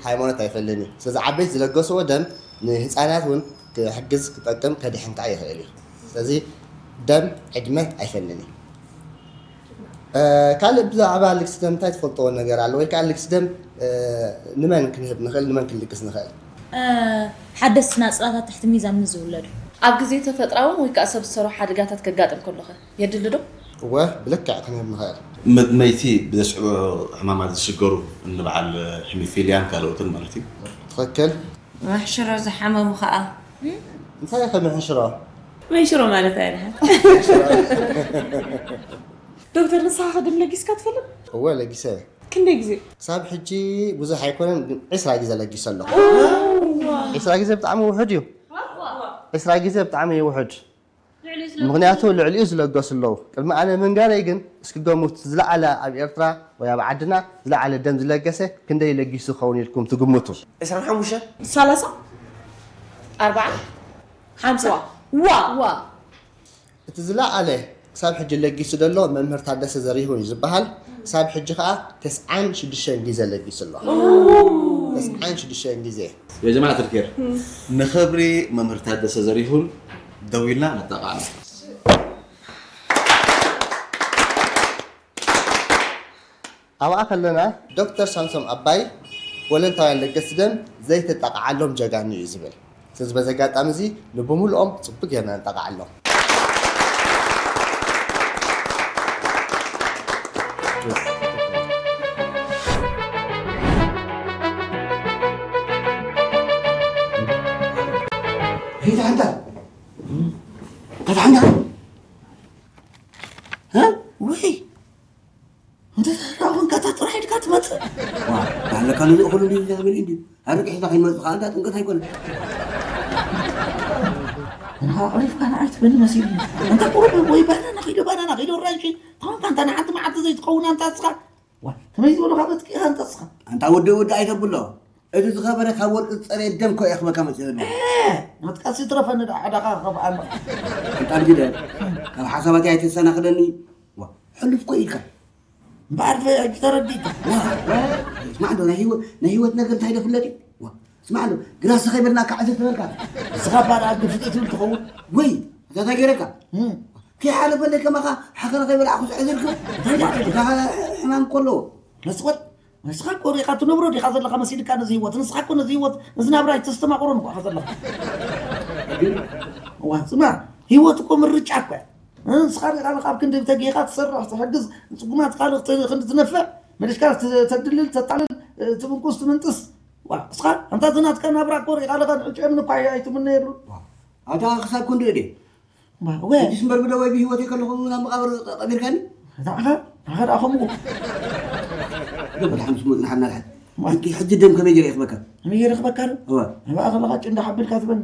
ሃይማኖት ኣይፈልኒ። ስለዚ ዓበይቲ ዝለገስዎ ደም ንህፃናት እውን ክሕግዝ፣ ክጠቅም፣ ከድሕን ከዓ ይኽእል እዩ። ስለዚ ደም ዕድመ ኣይፈልኒ። ካልእ ብዛዕባ ልግሲ ደም እንታይ ትፈልጥዎ ነገር ኣሎ? ወይ ከዓ ልግሲ ደም ንመን ክንህብ ንኽእል፣ ንመን ክንልግስ ንኽእል? ሓደስቲ ናፅላታት ትሕቲ ሚዛን ንዝውለዱ። ኣብ ግዜ ተፈጥራውን ወይ ከዓ ሰብ ዝሰርሖ ሓደጋታት ከጋጥም ከሎኸ የድሊ ዶ? እወ፣ ብልክዕ ክንህብ ንኽእል። መድመይቲ ብዘስዕቦ ሕማማት ዝሽገሩ እንበዓል ሂሚፊልያን ካልኦትን ማለት እዩ። ትኽክል። መሕሽሮ ዝሓመሙ ከዓ እንታይ ኢኸ ምሕሽሮ? መንሽሮ ማለት ኣይደሓን። ዶክተር፣ ንስኻ ከ ደም ለጊስካ ትፈልጥ? እወ፣ ለጊሰ። ክንደይ ግዜ? ክሳብ ሕጂ ብዙሕ ኣይኮነን፣ ግን ዕስራ ግዜ ለጊሰ ኣለኹ። ዕስራ ግዜ ብጣዕሚ ውሑድ እዩ። ዕስራ ግዜ ብጣዕሚ እዩ ውሑድ። ምኽንያቱ ልዕሊኡ ዝለገሱ ኣለዉ። ቅድሚ ኣነ ምንጋረይ ግን እስኪ ገምቱ፣ ዝለዓለ ኣብ ኤርትራ ወይ ኣብ ዓድና ዝለዓለ ደም ዝለገሰ ክንደይ ለጊሱ ክኸውን ኢልኩም ትግምቱ? ዕስራን ሓሙሽተን ሰላሳ ኣርባዓ ሓምሳ ዋ ዋ እቲ ዝለዓለ ክሳብ ሕጂ ለጊሱ ዘሎ መምህር ታደሰ ዘሪሁን እዩ ዝበሃል። ክሳብ ሕጂ ከዓ ተስዓን ሽዱሽተን ግዜ ለጊሱ ኣሎ። ተስዓን ሽዱሽተን ግዜ። يا جماعة الخير، ንኽብሪ መምህር ታደሰ ዘሪሁን ደው ኢልና ነጠቓዕሎ። ኣብኣ ከለና ዶክተር ሳምሶም ኣባይ ወለንታውያን ለገስቲ ደም ዘይተጠቕዓሎም ጀጋኑ እዩ ዝብል። ስለዚ በዚ ኣጋጣሚ እዚ ንብምልኦም ጽቡቅ ጌርና ንጠቕዓሎም። ሄይ ተሓንታ ተሓንታ ወይ እንተ ተራኹን ካታ ጥራሕ ኢድካ ትመጽእ ዋ ባለካ ንዝእኽሉ ድዩ ዝብል እንዲ ኣርቂ ሒዛ ከይመጽእ ከዓ እንዳ ጥምቀት ኣይኮነ እንካ ዕሪፍካ ንዓይ ትብል መሲሉ እንተ ቁሩብ ወይ ባናና ኪዶ ባናና ኪዶ ራንሺ ተኾንካ እንተ ንሓንቲ መዓልቲ ዘይትኸውን ኣንታ እስኻ ዋ ከመይ ዝበሉኻ በትኪኻ ኣንታ እስኻ ኣንታ ወዲ ወዲ ኣይተብሎ እቲ ዝኸበረ ካብ ወርቂ ዝጸረየ ደም ኮ እየ ክበካ መጽእ ዘሎ መጥቀሲ ትረፈኒ ዳ ዕዳኻ ከብኣሎ ኣንታ ግደ ካብ ሓሳባትይ ኣይተሰናኽለኒ ዋ ሕሉፍ ኮ ኢልካ እምበኣር ሕጂ ተረዲእካ ስማዕ ዶ ናይ ህይወት ናይ ህይወት ነገር እንታይ ዶ ፍለጥ እዩ ስማዕ ዶ ግራስ ከይበልናካ ዕዝር ትበልካ ንስኻ እባ ደኣ ግፍጢ ትብል ትኸውን ወይ እንታይ እንታይ ገይረካ ከይሓለፈለይ ከማኻ ሓኸረ ከይበላዕኩ ዝዕዝርኩ እንታይ ደኣ ሕማም ከለዎ መስወጥ ንስኻ እኮ ሪኻ ትነብሮ ዲኻ ዘለኻ መሲልካ ነዚ ህይወት ንስኻ እኮ ነዚ ህይወት ነዚ ናብራ ኣይተስተማቕሮን እኮ ኢኻ ዘለኻ እዋ ስማ ህይወት እኮ ምርጫ እኮ እያ ንስኻ ሪኻ ኣለኻ ኣብ ክንዲ ተጌኻ ትሰርሕ ትሕግዝ ንፅጉማት ካልእ ክንዲ ትነፍዕ መሊስካ ተድልል ተጣልል ትብንቁስ ትምንጥስ ዋ እስኻ ኣንታ እቲ ናትካ ናብራ እኮ ሪኻ ኣለኻ ንዕጭ እምኒ እኳ ኣይትምነየሉ ኣታ ክሳብ ክንድኡ ድየ ሕጂስ እምበር ብደወይ ብህይወተይ ከለኹ ናብ መቓብር ቀቢርካኒ ንዓኻ ንዓኻ ደኣ ከምኡ ገበል ሓምስ ሞት ንሓና ድሓን ሕጂ ደም ከመይ ገይረ ይኽበካ ከመይ ገይረ ይኽበካ ዶ እዋ ንባኣ ከለኻ ጭንዳ ሓቢልካ ትበኒ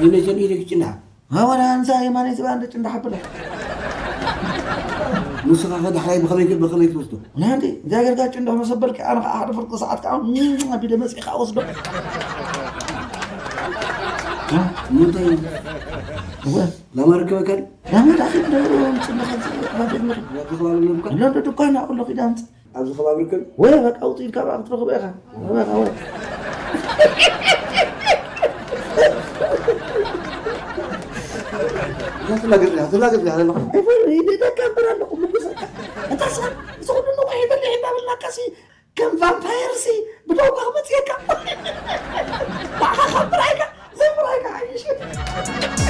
ይነጀን ኢደ ጭንዳ ሃወና እንሳ የማነይ ዝባ እንደ ጭንዳ ሓብላ ንስኻ ከ ዳሕራይ ብኸመይ ብኸመይ ትወስዶ ናንዲ እግዚኣብሔር ጋር ጭንዳ መሰበልካ ኣነ ከዓ ሓደ ፍርቂ ሰዓት ከዓ ኣቢለ መፅእ ከዓ ወስዶ ምንታይ እወ ላማ ርከበካ ላማ ዳኺ ደውሮ ምፅለኻ ባፈት ምኽ ላማ ርከበካ ሎንዶ ድኳን ኣቁሎ ኪዳ ምፅ ኣብዚ ከባቢ ርከብ ወይ በቃ ውፅኢት ካብ ክትረኽቦ ኢኻ በቃ ወይ ትላገፅ ትላገፅ ኣለኹ ይደካ እምበር ኣለኹ ምጉሰካ እንታ ስኻ እዚ ኩሉ ንቑሕ ይበልሕ ይባብልናካ ሲ ከም ቫምፓየር ሲ ብደውካ ክመፅየካ